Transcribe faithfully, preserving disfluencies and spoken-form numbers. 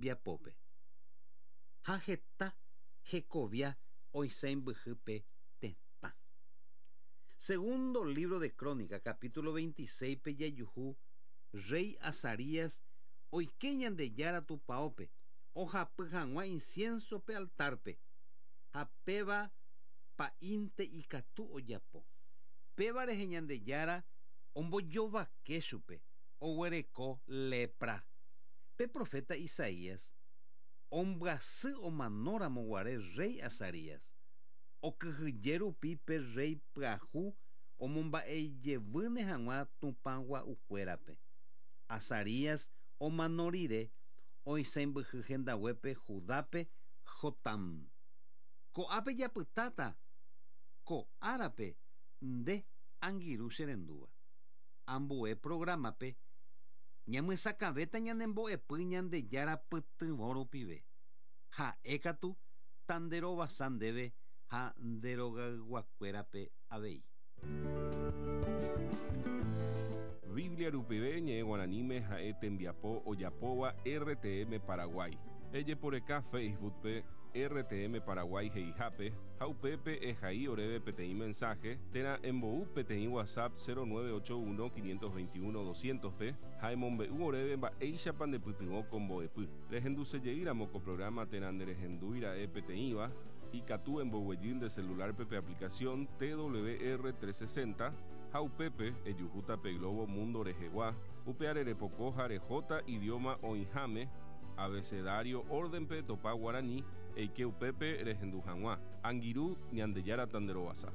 Tembiapópe. Ha heta hekovia oisãmbyhy tetã. Segundo libro de Crónica, capítulo veintiséis pe jajuhu rey Azarías oike Ñandejára tupãópe ohapy hag̃ua incienso pe altarpe ha péva pa'ínte ikatu ojapo. Péva rehe Ñandejára ombojovake chupe oguereko lepra. Pe profeta Isaías ombyasy omanóramo guare rey Azarías okyhyje rupi pe rey pyahu omomba'ejevýne hag̃ua tupãgua'ukuérape. Azarías omano rire oisãmbyhy hendaguépe Judápe Jotam. Ko'ápe japytáta ko árape nde angirũ cherendúva. Ambue programape ñamyesakãvéta ñanembo'epy Ñandejára pytyvõ rupive. Ha'ékatu tanderovasa ndéve ha nderogayguakuérape avei. Biblia rupive ñe'ẽ guaraníme ha'e tembiapo ojapóva R T M Paraguay. Ejeporeka Facebookpe R T M Paraguay he'ihápe ha upépe ehai oréve peteĩ mensaje térã embou peteĩ WhatsApp cero nueve ocho uno quinientos veintiuno doscientos pe ha emombe'u oréve mba'éichapa ndepytyvõ ko mbo'epy. Rehendusejeýramo ko programa térã nderehendúira'e peteĩva, ikatu emboguejy nde celularpe pe aplicación T W R trescientos sesenta ha upépe ejuhúta pe globo mundo rehegua, upe repoko ha rehóta idioma oĩháme abecedario órdenpe topa guaraní eike upépe rehendu hag̃ua. Angirũ, Ñandejára tanderovasa.